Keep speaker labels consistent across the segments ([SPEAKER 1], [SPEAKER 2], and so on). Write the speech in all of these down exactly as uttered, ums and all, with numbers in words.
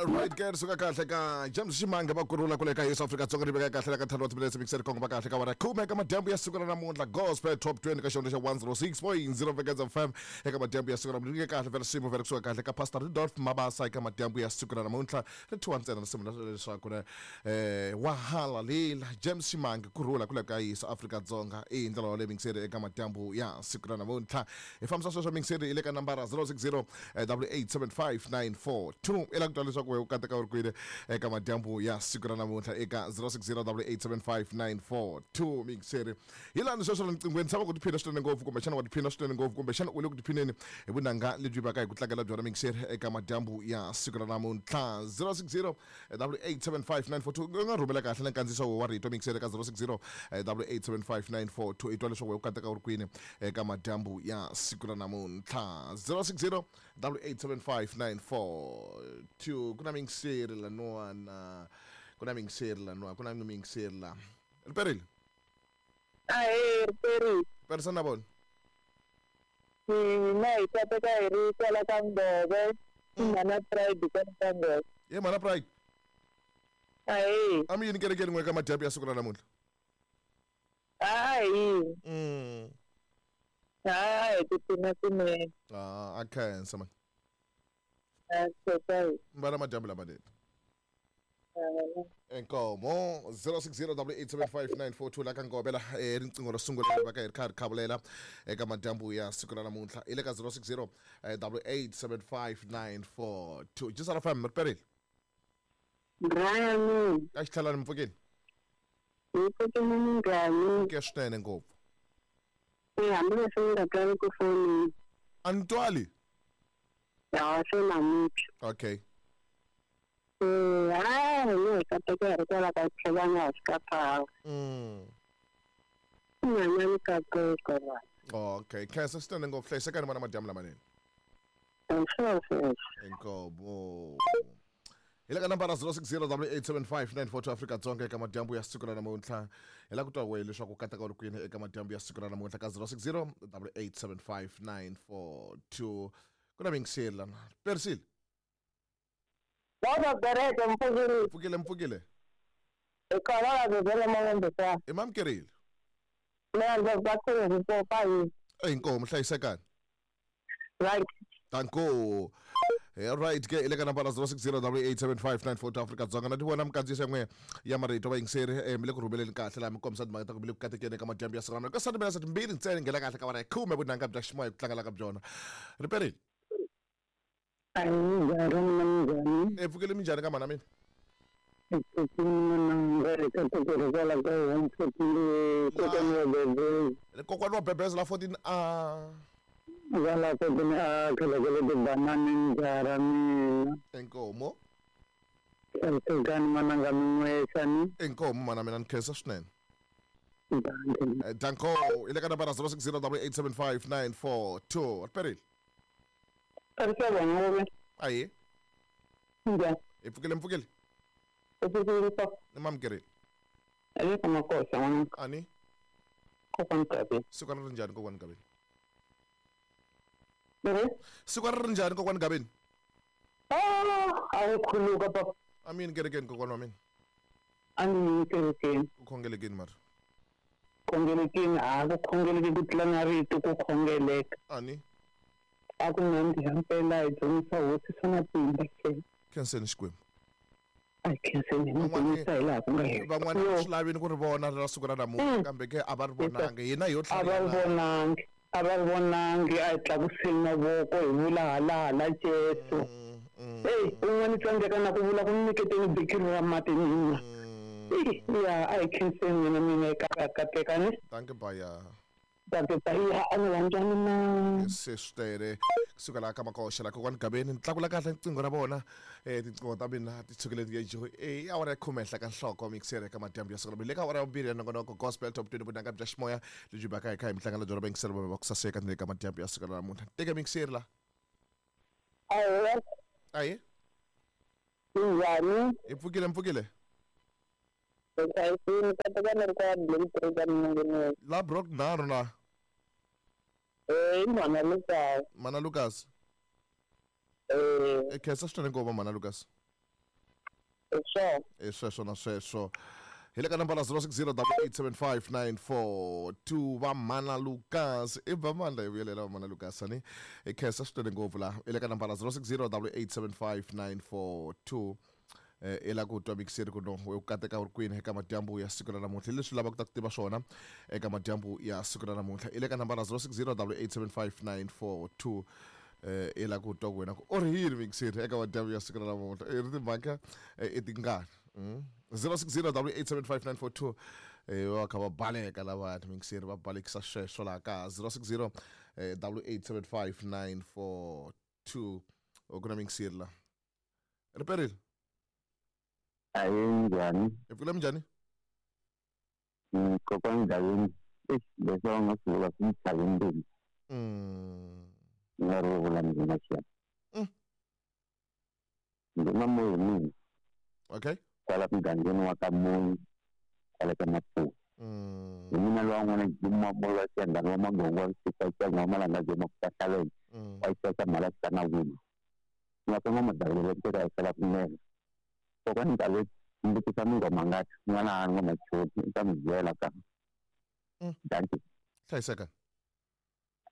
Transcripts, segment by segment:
[SPEAKER 1] Right ke suka kahle ka James Ximanga va kurula kule ka Yesu Afrika Dzonga ri veka kahle la ka ntlhanu wa timinetse mixer Kongo va kahle ka wara khume ka madyambu ya siku ra namuntlha Gospel Top twenty ka xihundla xa one oh six point zero Vekeza F M eka madyambu ya siku ra namuntlha kahle vela swimo vela kusuka kahle ka Pastor Rudolph Mabasa eka madyambu ya siku ra namuntlha ri thiwa ntsena risimu leswaku eh wa halalela James Ximanga kurula kule ka Yesu Afrika Dzonga i ndlela wa le mixer eka madyambu ya siku ra namuntlha hi fambisa sweswo mixer ile ka nambara zero six zero double eight seven five nine four two ela ku twa leswaku we u kateka u ri kwini eka madyambu ya siku ra namuntlha eka zero six zero double eight seven five nine four two mixer hi lani sweswo riqinghweni tshama ku tiphina swinene ngopfu kumbexana wa tiphina swinene ngopfu kumbexana u le ku tiphineni hi vunanga lebyi vaka hi ku tlangela byona mixer eka madyambu ya siku ra namuntlha zero six zero double eight seven five nine four two u nga rhumela kahle na nkandziyiso wa rito mixer eka zero six zero double eight seven five nine four two i twa leswaku we u kateka u ri kwini eka madyambu ya siku ra namuntlha zero six zero double eight seven five nine four two kuna mixer la nwana kuna mixer la nwana kuna mixer la riperile
[SPEAKER 2] ahe riperile
[SPEAKER 1] persona bon
[SPEAKER 2] mina hi kateka hi ri kwala ka Ngove mana pride ka Ngove
[SPEAKER 1] ye mana pride
[SPEAKER 2] ahe
[SPEAKER 1] ami yini kerekeni n'we ka madyambu ya siku ra namuntlha
[SPEAKER 2] ayi
[SPEAKER 1] mm
[SPEAKER 2] hayi tiphina swinene
[SPEAKER 1] ah a khensa man mbala madyambu lamanene Inkomo zero six zero double eight seven five nine four two la ka Ngove la eh riqingho ro sungula va ka hi ri kha ri khavulela eka madyambu ya siku ra namuntlha i le ka zero six zero double eight seven five nine four two just out of fam riperile
[SPEAKER 2] Brian
[SPEAKER 1] ka xitlhalani mpfukeni
[SPEAKER 2] hi pfukeni minjhani
[SPEAKER 1] ke swinene ngopfu
[SPEAKER 2] e hambileswi ni nga twali ku fonini
[SPEAKER 1] a ni twali
[SPEAKER 2] ya swi namuntlha
[SPEAKER 1] okay
[SPEAKER 2] eh hayi ni kateka hi ri kwala ka tlhelanga hansi ka phawa
[SPEAKER 1] mm
[SPEAKER 2] nyanyani kateka va
[SPEAKER 1] okay khensa swinene ngopfu hlayisekani vana madyambu lamanene Inkomo hi le ka nambara zero six zero double eight seven five nine four two Afrika Dzonga eka madyambu ya siku ra namuntlha hi la ku twa wehe leswaku kateka u ri kwini eka madyambu ya siku ra namuntlha ka zero six zero double eight seven five nine four two kuna mingiseri lana persile
[SPEAKER 2] Baba bereke mpfukile
[SPEAKER 1] mpfukile mpfukile
[SPEAKER 2] ekala la bela mawembe ka
[SPEAKER 1] i mamkerile
[SPEAKER 2] mina ndzi va khulu hi pa hi
[SPEAKER 1] inkomo hlayisekani
[SPEAKER 2] right
[SPEAKER 1] Danko. Right ke ile ka nambara zero six zero double eight seven five nine four two Afrika Dzonga na ti vona mikandziyiso yan'we ya marito va yingiseri eh mi le ku rhumeleni kahle laha mi kombisa timhaka ta ku mi le ku katekeni eka madyambu ya siku ra ka sati mina sati mbirhi ntsena nghena kahle ka wara ya khume vunanga bya ximoya ku tlangela ka byona riperile e pfukile minjhani ka mana mina kokwana wa Bebeza la fourteen a
[SPEAKER 2] Wala ko din a khelekele tibanani njara mina
[SPEAKER 1] inkomo
[SPEAKER 2] hlayisekani mananga min'wexani
[SPEAKER 1] inkomo mana mina ni khensa swinene Danko i le ka nambara zero six zero double eight seven five nine four two riperile ayi
[SPEAKER 2] njhani
[SPEAKER 1] i pfukile mpfukile
[SPEAKER 2] i pfukile pa
[SPEAKER 1] ni mamkerile
[SPEAKER 2] ale ka makosa n'wana
[SPEAKER 1] ani
[SPEAKER 2] kokwani Gabeni
[SPEAKER 1] siku ra ri njhani kokwani Gabeni siku ra ri njhani kokwani Gabeni
[SPEAKER 2] ah a wu khuluka papa
[SPEAKER 1] a mi yini kerekeni kokwana wa mina
[SPEAKER 2] a ni yini kerekeni
[SPEAKER 1] ku khongelekeni mara
[SPEAKER 2] khongelekeni a ku khongeleki ku tlula na rito ku khongeleka
[SPEAKER 1] ani
[SPEAKER 2] a ku nandziha mpela hi dzunisa hosi swa matimba ke
[SPEAKER 1] khenseni Xikwembu
[SPEAKER 2] a khenseni hi dzunisa hi laha ku nga hela
[SPEAKER 1] van'wana swi lavini ku ri vona ra siku ra namuntlha kambe ke a va ri vonangi hina hi yo
[SPEAKER 2] a va ri vonangi a va ri vonangi a hi tlakuseni mavoko hi vula halahala Jesu eyi un'wana tsandzeka na ku vula ku nyiketeni bikiri ra mati mina ya a hi khenseni mina mina eka kateka ni
[SPEAKER 1] danke baya
[SPEAKER 2] danke baya a ni landzani na
[SPEAKER 1] se swi kusuka laha ka Makoxa laha kokwani Gabeni ni tlakula kahle riqingho ra vona eh tinqingho ta mina ti tshukile ti eh awara ya khume henhla ka nhloko mixer eka madyambu ya siku ra le ka awara ya vumbirhi ya nongonoko Gospel Top twenty vunanga bya ximoya lebyi baka hi kha hi mihlangano bya mixer va ku saseka ni le ka madyambu ya siku ra namuntlha teka mixer la
[SPEAKER 2] ayi
[SPEAKER 1] ayi
[SPEAKER 2] njhani
[SPEAKER 1] i pfukile mpfukile la brok nharhu na
[SPEAKER 2] eh mana Lucas
[SPEAKER 1] mana Lucas
[SPEAKER 2] Eh.
[SPEAKER 1] E khensa swinene ngopfu mana Lucas.
[SPEAKER 2] Sure.
[SPEAKER 1] E sweswo na sweswo. Hi le ka nambara zero six zero double eight seven five nine four two va mana Lucas. I va mandla hi vuyelela va mana Lucas ani. E khensa swinene ngopfu la. I le ka nambara zero six zero double eight seven five nine four two. Eh la ku twa mixer ku no u kateka u ri kwini eka madyambu ya siku ra namuntlha leswi lavaka ku ta ku tiva swona eka madyambu ya siku ra namuntlha i le ka nambara zero six zero double eight seven five nine four two eh i la ku twa ku wena ku u ri yini mixer eka madyambu ya siku ra namuntlha i ri timhaka i tingani zero six zero double eight seven five nine four two eh va kha va baleka lava mixer va balekisa sweswo laha ka zero six zero double eight seven five nine four two u ku na mixer la riperile.
[SPEAKER 3] Ayi njhani?
[SPEAKER 1] Hi pfukile minjhani?
[SPEAKER 3] Kokwani Ndhawini, leswi va nga swi vula swi ni tlhave mbilu. Ni nga ri vula mina xana. Ndzi na moya hi mina.
[SPEAKER 1] Okay.
[SPEAKER 3] Kwala mugangeni wa ka Moyi, kwala ka Maputo. Hi mina lowa n'wana Jimma wa Xiyangani wa Magongo wa Siku wa wa Malanga Jema ku Kahlaleni wa Xixaka Mhalasa na Wini. Nga ka n'wamadavulelo teka hi sala kunene. Kokwani Ndhawini mbutisa mingoma ngati n'wana a ngoma choti i ta mi byela ka. Dankie.
[SPEAKER 1] Hlayiseka.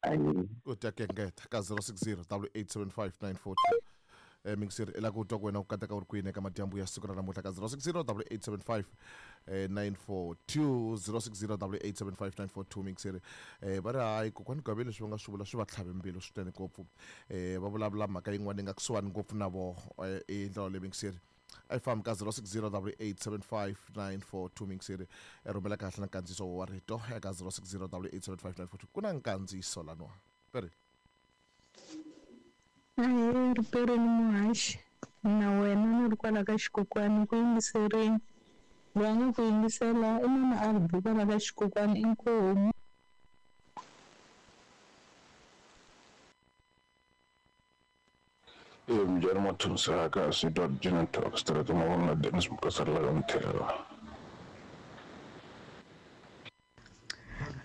[SPEAKER 3] Ayi.
[SPEAKER 1] Ku ta kengeta ka zero six zero double eight seven five nine four two. Eh mixer i la ku twa ku wena ku kateka u ri kwini eka madyambu ya siku ra namuntlha ka zero six zero double eight seven five nine four two zero six zero double eight seven five nine four two mixer eh va ri hayi kokwani Gaveni leswi va nga swi vula swi va tlhave mbilu swinene ngopfu eh va vulavula mhaka yin'wana yi nga kusuhani ngopfu na voho i ndlela leyi mixer a yi fambi ka zero six zero double eight seven five nine four two mixer rhumela kahle na nkandziyiso wa rito eka zero six zero double eight seven five nine four two ku na nkandziyiso laniwa peri.
[SPEAKER 4] Ahee riperini muhaxi na wena ni ri kwala ka xikokwani ku yingiserini loyi a nga ku yingisela i mama a ri kwala ka xikokwani inkomu.
[SPEAKER 5] Mjani Mathunsa sitwa Jina Talk Street mavona Dennis Mukasarla ka Mthelo.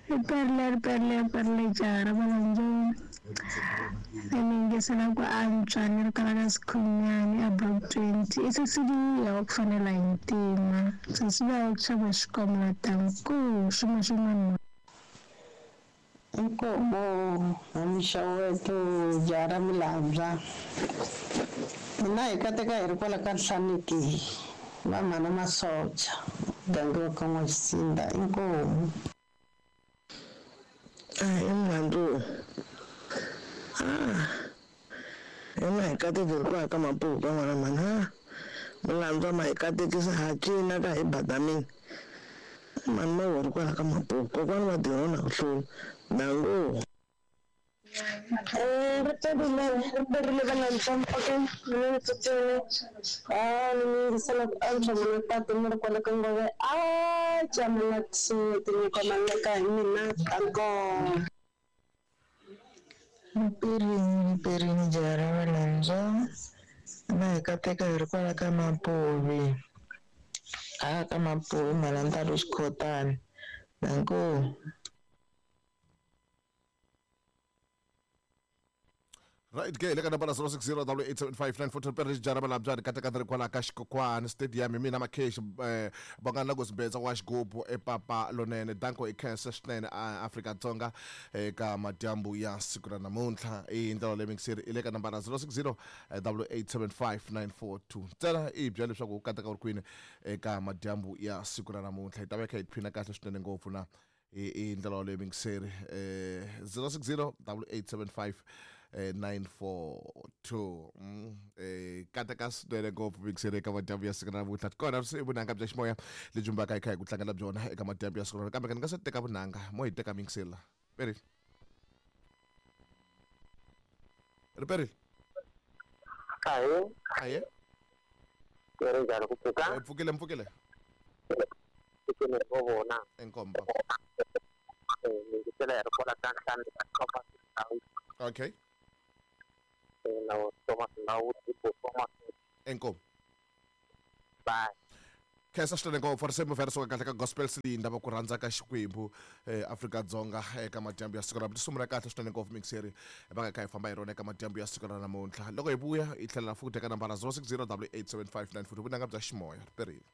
[SPEAKER 4] Riperile riperile riperile jaha ra Valandzoni. Ni yingisela ku antswa ni ri kwala ka Sikhunyani a block twenty. I Cecilia wa ku fanela hi ntima. Cecilia wa ku xava xikomela tanku xin'wana xin'wana.
[SPEAKER 6] Inkomo hamixaweto jaha ra Milambya. Mina hi kateka hi ri kwala ka Nhlaniki va mhana Masocha muganga wa ka N'waxitsinda inkomu.
[SPEAKER 7] Ahi mhandzu. Ah. Hina hi kateka hi ri kwala ka Maputo ka n'wana mhani ha. Milandzu ma hi katekisa ha cina ka hi badamini. Mhani ma ri kwala ka Maputo kokwani va tirha na ku hlula. Nangu.
[SPEAKER 8] Eh, riperile riperile valandzwa okay mina ni tsutsumile ah ni yingisela ku antswa mina patu ni ri kwala ka Ngove a jamela kusuhi tinyiko maleka hi mina tanko.
[SPEAKER 7] Riperini riperini jaha ra Valandzwa na hi kateka hi ri kwala ka Mapuvi a ka Mapuvi Mhalantalu Xikhotani nanku.
[SPEAKER 1] Right ke le ka nambara zero six zero double eight seven five nine four two pere jara balabya ri kateka ri kwala ka Xikokwani stadium hi mina Makheshi eh vangana ku sibetsa wa xigubu epapa lonene danko i khensa swinene a Afrika-Dzonga eka madyambu ya siku ra namuntlha i ndlela leyi mixer i le ka nambara zero six zero double eight seven five nine four two ntsena i byela leswaku u kateka u ri kwini eka madyambu ya siku ra namuntlha hi ta va kha hi tiphina kahle swinene ngopfu na i ndlela leyi mixer eh zero six zero double eight seven five nine four two eh kateka swinene ngopfu mixer eka madyambu ya siku ra namuntlha kona swi vunanga bya ximoya lebyi mbaka hi kha hi ku tlangela byona eka madyambu ya siku ra kambe ni nga se teka vunanga mo hi teka mixer la peri riperile.
[SPEAKER 2] Ahe.
[SPEAKER 1] Ahe.
[SPEAKER 2] Ri njhani ku pfuka?
[SPEAKER 1] Pfukile mpfukile.
[SPEAKER 2] Pfukile ro vona.
[SPEAKER 1] Inkomba.
[SPEAKER 2] Yingisela hi ri kwala ka Nhlandi ka Thomas Ndhawu.
[SPEAKER 1] Okay.
[SPEAKER 2] Na Thomas Ndhawu Thomas.
[SPEAKER 1] Inkomo.
[SPEAKER 2] Bye.
[SPEAKER 1] Khensa swinene ngopfu risimu vhele suka kahle ka gospel silinda va ku rhandza ka Xikwembu eh, Afrika-Dzonga eka madyambu ya siku ra risimu ra kahle swinene ngopfu mixeri va nga kha hi famba hi rona eka madyambu ya siku ra namuntlha. Loko hi vuya hi tlhela futhi eka nambara zero six zero double eight seven five nine four vunanga bya ximoya riperile.